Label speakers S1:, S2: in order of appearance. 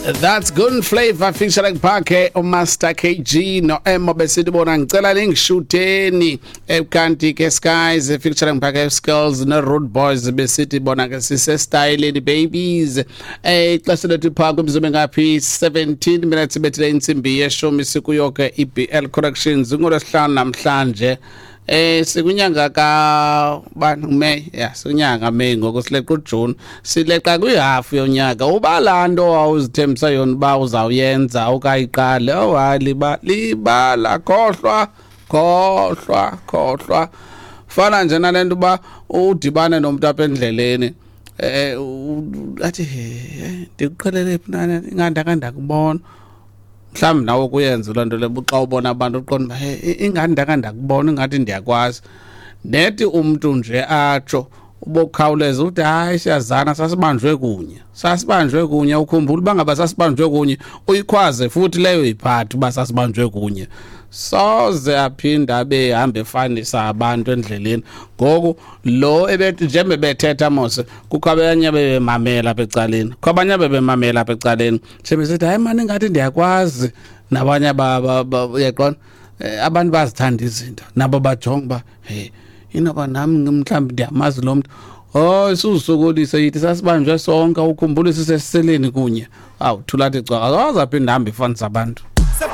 S1: That's Good Flavor featuring Parke uMaster KG no Emo besithi bona ngicela ningishuteni. Kanti ke Skies featuring Parke Skills no Road Boys besithi bona ke sise styleni babies. Ixesha lethu pha kwimizuzu engaphi 17 minutes bethile insimbi yeshumi sikuyo ke iBL Corrections ngolwesihlanu namhlanje. Sikunyanga ka bani May, yeah, sikunyanga May ngoku sileqa uJune, sileqa kwihafu yonyaka. Uba laa nto awuzithembisa yona uba uzawuyenza ukayiqale, oh hayi, libala, khohlwa, khohlwa, khohlwa. Fana nje nale nto uba udibane nomntu apha endleleni, athi ndikuqhelele phi na, ingandake ndakubona. Mhlawumbi nawe kuyenza loo nto leyo, xa ubona abantu uqonda uba, hey, ingathi ndake ndakubona, ingathi ndiyakwazi. Nethi umntu nje atsho ubokhawuleza uthi hayi siyazana, sasibanjwe kunye, sasibanjwe kunye. Ukhumbula uba ngaba sasibanjwe kunye, uyikhwaze futhi leyo iphathi uba sasibanjwe kunye. Soze aphinde abe hambe efanisa abantu endleleni. Ngoku lo ebethi njengoba bethetha mos, kukho abanye bebemamela apha ecaleni, kukho abanye bebemamela apha ecaleni, sebesithi hayi mani ingathi ndiyakwazi. Nabanye uyaqonda, abantu bazithanda izinto nabo bajonga uba hey inoba nam mhlawumbi ndiyamazi lo mntu. Oh, suzusokolisa yithi sasibanjwe sonke, ukhumbule sisesiseleni kunye. Awu thula athi cwaka, awazaphinda hambe ifanisa abantu.